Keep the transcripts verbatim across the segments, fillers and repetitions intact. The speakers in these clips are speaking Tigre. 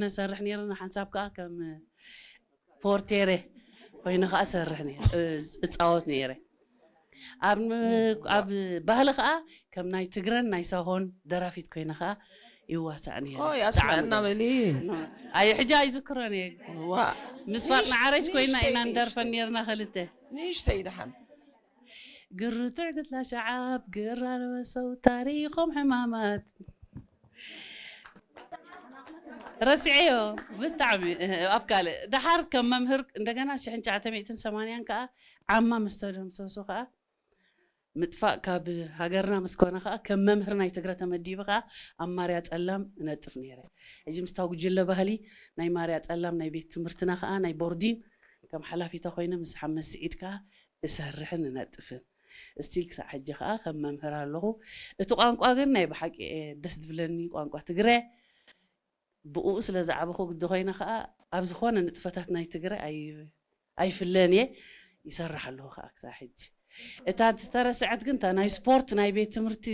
ነሰርሕ ነይርና፣ ሓንሳብ ከኣ ከም ፖርቴሬ ኮይነ ከኣ ሰርሕ ነይረ፣ እ፣ እጻወት ነይረ። ኣብ ን-፣ ኣብ ባህሊ ከኣ ከም ናይ ትግረን ናይ ሳሆን ደራፊት ኮይነ ከኣ ይዋሳእ ነይረ። ኦይ፣ ኣስምዐና ተዓመ-፣ በሊ። ኣይ፣ ሕጂ ኣይዝክሮን እየ። ዋ። ምስ ፋጥና ንሽ-፣ ዓረጅ ኮይና ንእሽተይ፣ ኢና ንደርፈን ንእሽተይ። ነይርና ክልተ። ንእሽተይ ደሓን። ግርትዕ ግትላ ሸዓብ፣ ግር ኣልበሰው ታሪኾም ሕማማት። ረሲዐዮ ብጣዕሚ፣ ኣብ ካልእ። ደሓር ከም መምህር እንደገና ሽሕን ትሽዓተ ሚእትን ሰማንያን ከኣ ዓማ ምስ ተደምሰሱ ከኣ፣ ምጥፋእ ካብ ሃገርና ምስ ኮነ ከኣ፣ ከም መምህር ናይ ትግረ ተመዲበ ከኣ ኣብ ማርያ ጸላም እነጥፍ ነይረ። ሕጂ ምስታ ጉጅለ ባህሊ ናይ ማርያ ጸላም ናይ ቤት ትምህርትና ከኣ ናይ ቦርዲን ከም ሓላፊተ ኮይነ ምስ ሓመድ ስዒድ ከኣ እሰርሕን እነጥፍን። እስቲል ክሳዕ ሕጂ ከኣ ከም መምህር ኣለኹ። እቲ ቋንቋ ግን ናይ ብሓቂ ደስ ዝብለኒ ቋንቋ ትግረ። ብእኡ ስለ ዝዓበኹ ግዲ ኮይነ ከኣ፣ ኣብ ዝኾነ ንጥፈታት ናይ ትግረ ኣይ-፣ ኣይፍለን እየ፣ ይሰርሕ ኣለኹ ከኣ ክሳዕ ሕጂ። እታ ዝተረስዐት ግን፣ እታ ናይ ስፖርት ናይ ቤት ትምህርቲ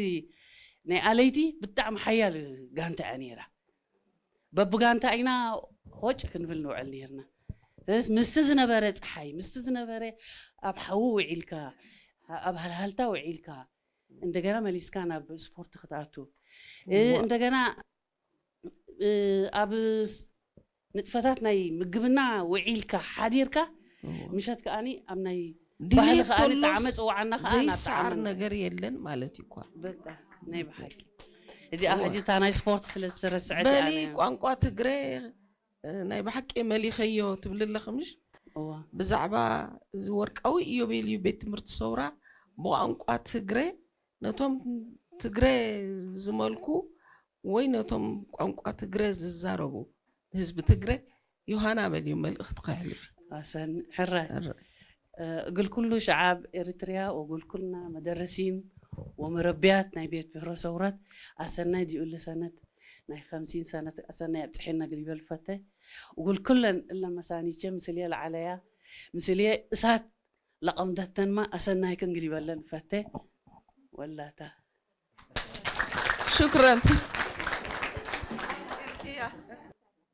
ናይ ኣለይቲ ብጣዕሚ ሓያል ጋንታ እያ ነይራ። በብጋንታ ኢና ሆጭ ክንብል ንውዕል ነይርና። ስለዚ ምስቲ ዝነበረ ጸሓይ፣ ምስቲ ዝነበረ ኣብ ሓዊ ውዒልካ፣ ኣብ ሃልሃልታ ውዒልካ፣ እንደገና መሊስካ ናብ ስፖርት ክትኣቱ፣ እ፣ እዋ። እንደገና እ፣ ኣብ ስ-፣ ንጥፈታት ናይ ምግብና ውዒልካ ሓዲርካ፣ እዎ። ምሸት ከኣኒ ኣብ ናይ ዲሌት ባህሊ ከኣኒ ተሎስ ጣዕመ ጽዋዕና ከኣ ናብ ዘይሰዓር ጣዕመና። ነገር የለን ማለት እዩ እኳ። በቃ፣ ናይ ብሓቂ። እዚኣ እዎ። ሕጂ እታ ናይ ስፖርት ስለ ዝተረስዐት በሊ ኣነ ቋንቋ ትግረ፣ እ፣ ናይ ብሓቂ መሊኸዮ ትብሊ ኣለኺ ምሽ? እዎ። ብዛዕባ እዚ ወርቃዊ ኢዮቤልዩ ቤት ትምህርቲ ሰውራ ብቋንቋ ትግረ ነቶም ትግረ ዝመልኩ ወይ ነቶም ቋንቋ ትግረ ዝዛረቡ ህዝቢ ትግረ ዮሃና በልዩ መልእኽትከ ኣሕልፊ። ኣሰን ሕረ፣ ሕረ። እ፣ እግል ኩሉ ሸዓብ ኤሪትርያ ወእግል ኩልና መደረሲን ወመረብያት ናይ ቤት ብሕሮ ሰውረት ኣሰናይ ዲዩ እሊ ሰነት ናይ ኸምሲን ሰነት ኣሰናይ ኣብጽሐና እግል ይበል ፈተ። እግል ኩለን እለ መሳኒቼ ምስልየ ለዓለያ ምስልየ እሳት ለቀምደተንመ ኣሰናይክን እግል ይበለን ፈቴ። ወላታ። ሹክረን።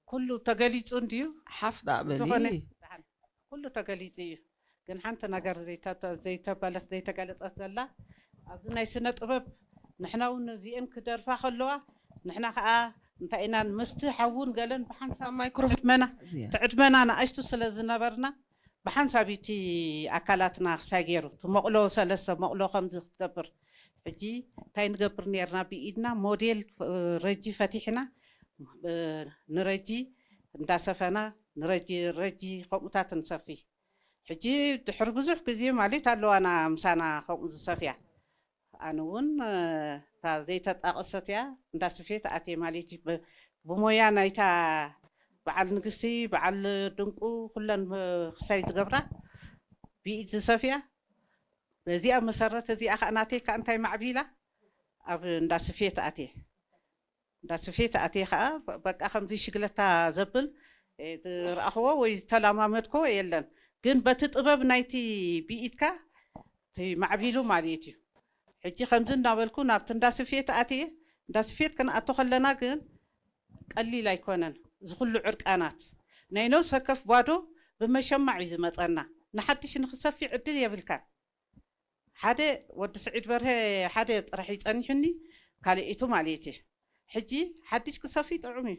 ኩሉ ተገሊጹ እንድዩ። ሓፍ ዳእ በሊ። ዝኾነ ኩሉ ተገሊጹ እዩ። ግን ሓንቲ ነገር ዘይተ-፣ ዘይተበለት፣ ዘይተገለጸት ዘላ፣ ኣብዚ ናይ ስነ ጥበብ ንሕና እውን እዚአን ክደርፋ ከለዋ፣ ንሕና ከኣ እንታይ ኢና ምስቲ ሓውን ገለን ብሓንሳብ ማይክሮፎን ዕድመና፣ እዚኣ። እቲ ዕድመና ንኣሽቱ ስለ ዝነበርና፣ ብሓንሳብ እቲ ኣካላትና ክሳይ ገይሩ፣ እቲ መቕሎ ሰለስተ መቕሎ ከምዚ ክትገብር። ሕጂ እንታይ ንገብር ኔርና? ብኢድና ሞዴል፣ እ፣ ረጂ ፈቲሕና፣ እ፣ ንረጂ እንዳሰፈና፣ ንረጂ፣ ረጂ ከምኡታት ንሰፊ። ሕጂ ድሕሪ ብዙሕ ግዜ ማለት ኣለዋና ምሳና ከምኡ ዝሰፍያ። ኣነ እውን፣ እ፣ እታ ዘይተጣቀሰት እያ፣ እንዳ ስፌት ኣትየ ማለት እዩ። ብ-፣ ብሞያ ናይታ በዓል ንግስቲ፣ በዓል ድንቁ፣ ኩለን ብ-፣ ክሳይ ዝገብራ ብኢድ ዝሰፍያ። በዚኣ መሰረት እዚኣ ከኣ ናተይ ከኣ እንታይ ማዕቢላ ኣብ እንዳ ስፌት ኣትየ። እንዳ ስፌት ኣትየ ከኣ በ-፣ በቃ ከምዚ ሽግለታ ዘብል፣ እ፣ ዝረኣኽዎ ወይ ዝተለማመድክዎ የለን። ግን በቲ ጥበብ ናይቲ ብኢድካ እቲ ማዕቢሉ ማለት እዩ። ሕጂ ከምዚ እናበልኩ ናብቲ እንዳ ስፌት ኣትየ፣ እንዳ ስፌት ክንኣቱ ከለና ግን ቀሊል ኣይኮነን። እዚ ኩሉ ዕርቃናት ናይ ነፍስ ወከፍ ባዶ ብመሸማዕ እዩ ዝመጸና። ንሓድሽ ንክትሰፊ ዕድል የብልካን። ሓደ ወዲ ስዒድ በርሀ ሓደ ጥራሕ እዩ ጸኒሑኒ፣ ካልኢቱ ማለት እዩ። ሕጂ ሓድሽ ክሰፊ ጥዑም እዩ።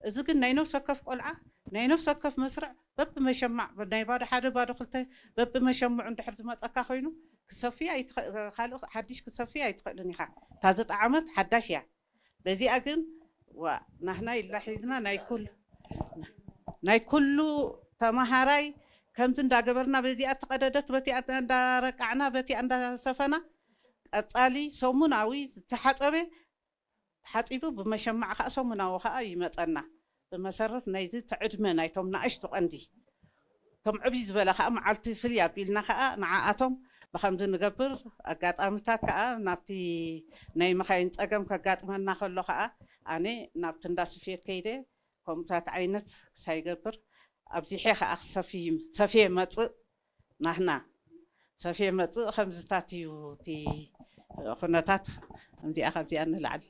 እዚ ግን ናይ ነፍስ ወከፍ ቆልዓ፣ ናይ ነፍስ ወከፍ መስርዕ በብመሸማዕ፣ ናይ ባዶ ሓደ፣ ባዶ ክልተ፣ በብመሸምዑ እንድሕር ዝመጸካ ኮይኑ፣ ክሰፍይ ኣይትኸ-፣ ካልእ ሓድሽ ክሰፍይ ኣይትኽእልን ኢኻ። እታ ዝጠዓመት ሓዳሽ እያ። በዚኣ ግን፣ ዋ፣ ናህና ኢላ ሒዝና ናይ ኩል-፣ ናይ ኩሉ ተመሃራይ ከምዚ እንዳገበርና በዚኣ እተቐደደት፣ በቲኣ እንዳረቃዕና፣ በቲኣ እንዳሰፈና፣ ቀጻሊ ሰሙናዊ ዝተሓጸበ ተሓጺቡ ብመሸማዕ ከኣ ሰሙናዊ ከኣ ይመጸና። ብመሰረት ናይዚ እቲ ዕድመ ናይቶም ንኣሽቱ ቀንዲ፣ እቶም ዕብይ ዝበለ ከኣ መዓልቲ ፍልይ ኣቢልና ከኣ ንዓኣቶም ብኸምዚ ንገብር። ኣጋጣሚታት ከኣ ናብቲ ናይ መኻይን ጸገም ከጋጥመና ከሎ ከኣ ኣነ ናብቲ እንዳ ስፌት ከይደ ከምኡታት ዓይነት ክሳይ ይገብር። ኣብዚሐ ከኣ ክሰፍይ፣ ሰፍየ መጽእ። ናህና ሰፍየ መጽእ ከምዝታት እዩ እቲ ኩነታት። እምዚኣ ካብዚኣ ንላዕሊ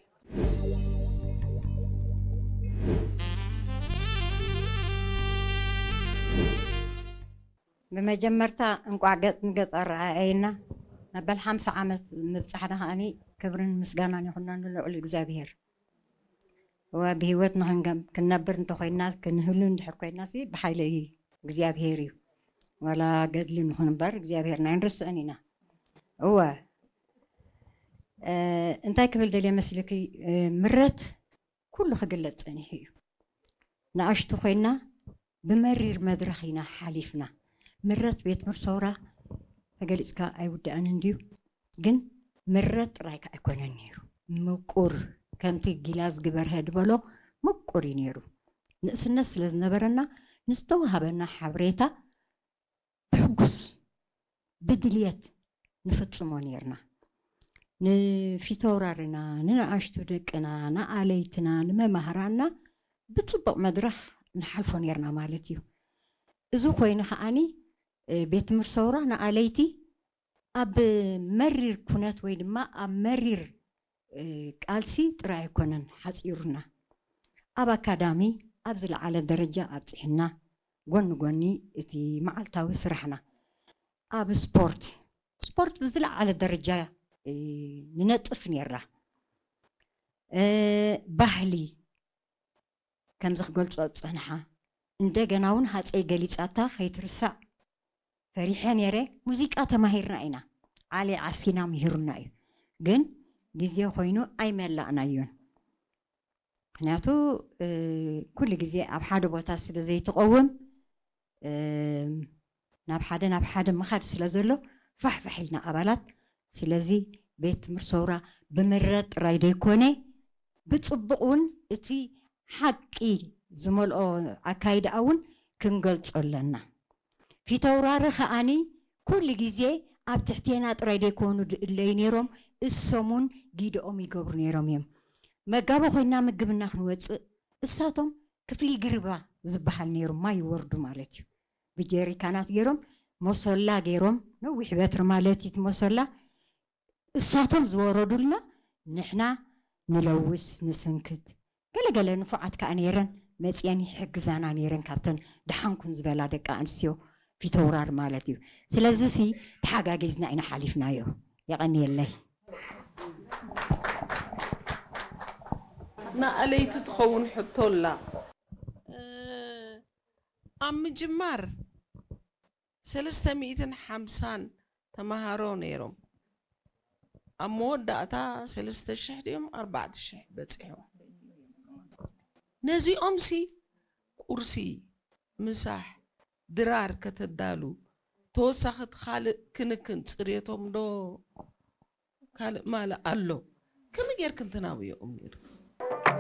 ብመጀመርታ እንቋዕ ገጽ ንገጽ አረኣየና። መበል ሓምሳ ዓመት ምብጻሕና ከኣኒ ክብርን ምስጋናን ይኹነኑ ልዑል እግዚኣብሔር። ወብህይወት ንኽንገ-፣ ክንነብር እንተኾይና፣ ክንህሉ እንድሕር ኮይናሲ ብሓይሊ እግዚኣብሔር እዩ። ወላ ገድሊ ንኹን እምበር እግዚኣብሔርና ኣይንርስዕን ኢና። እወ፣ እ፣ እንታይ ክብል ደልየ መስልኪ? እ፣ ምረት ኩሉ ክግለጽ ጸኒሑ እዩ። ንኣሽቱ ኮይና ብመሪር መድረኽ ኢና ሓሊፍና። ምረት ቤት ምር ሰውራ ተገሊጽካ ኣይውዳእን እንድዩ፣ ግን ምረት ጥራይ ከ ኣይኮነን ነይሩ። ምቁር፣ ከምቲ ጊላዝ ግበርሀ ድበሎ ምቁር እዩ ነይሩ። ንእስነት ስለ ዝነበረና ንዝተዋሃበና ሓብሬታ ብሕጉስ ብድልየት ንፍጽሞ ኔርና። ንፊተውራርና፣ ንነኣሽቱ ደቅና፣ ንኣለይትና፣ ንመማህራንና ብጽቡቕ መድረኽ ንሓልፎ ኔርና ማለት እዩ። እዚ ኮይኑ ከኣኒ፣ እ፣ ቤት ትምህርቲ ሰውራ ንኣለይቲ ኣብ መሪር ኩነት ወይ ድማ ኣብ መሪር፣ እ፣ ቃልሲ ጥራይ ኣይኮነን ሓጺሩና። ኣብ ኣካዳሚ ኣብ ዝለዓለ ደረጃ ኣብጺሕና፣ ጎኒ ጎኒ እቲ መዓልታዊ ስራሕና። ኣብ ስፖርት፣ ስፖርት ብዝለዓለ ደረጃ፣ እ፣ ንነጥፍ ኔርና። እ፣ ባህሊ ከምዚ ክገልጾ ዝጸንሓ፣ እንደገና እውን ሃጸይ ገሊጻታ ከይትርሳዕ ፈሪሐ ኔረ። ሙዚቃ ተማሂርና ኢና፣ ዓሊ ዓሲና ምሂሩና እዩ፣ ግን ግዜ ኮይኑ ኣይመላእናዮን። ምክንያቱ፣ እ፣ ኩሉ ግዜ ኣብ ሓደ ቦታ ስለ ዘይትቀውም፣ እ፣ ናብ ሓደ ናብ ሓደ ምኻድ ስለ ዘሎ ፋሕፋሕ ኢልና ኣባላት። ስለዚ ቤት ትምህርቲ ሰውራ ብምረት ጥራይ ደይኮነ፣ ብጽቡቕ እውን እቲ ሓቂ ዝመልኦ ኣካይዳኣ እውን ክንገልጾ ኣለና። ፊተውራሪ ከኣኒ ኩሉ ግዜ ኣብ ትሕቴና ጥራይ ደይኮኑ ድእለዩ ነይሮም፣ እሶም እውን ጊደኦም ይገብሩ ነይሮም እዮም። መጋቢ ኮይና ምግብና ክንወጽእ እሳቶም ክፍሊ ግርባ ዝበሃል ነይሩ፣ ማይ ይወርዱ ማለት እዩ። ብጀሪካናት ገይሮም፣ መሶላ ገይሮም፣ ነዊሕ በትሪ ማለት እዩ እቲ መሶላ፣ እሳቶም ዝወረዱልና ንሕና ንለውስ፣ ንስንክት። ገለገለ ንፉዓት ከኣ ነይረን፣ መጽየን ይሕግዛና ነይረን፣ ካብተን ደሓንኩን ዝበላ ደቂ ኣንስትዮ ፊተውራር ማለት እዩ። ስለዚሲ ተሓጋጊዝና ኢና ሓሊፍናዮ። የቐንየለይ። ንኣለይቱ ትኸውን ሕቶ ኣላ። እ፣ ኣብ ምጅማር ሰለስተ ሚእትን ሓምሳን ተመሃሮ ነይሮም። ኣብ መወዳእታ ሰለስተ ሽሕ ድዮም ኣርባዕተ ሽሕ በጺሖም። ነዚኦምሲ ቁርሲ፣ ምሳሕ፣ ድራር ከተዳሉ፣ ተወሳኺት ካልእ ክንክን ጽርየቶም ዶ ካልእ ማልእ ኣሎ? ከመይ ጌርክን ትናብዮኦም ኔርክን?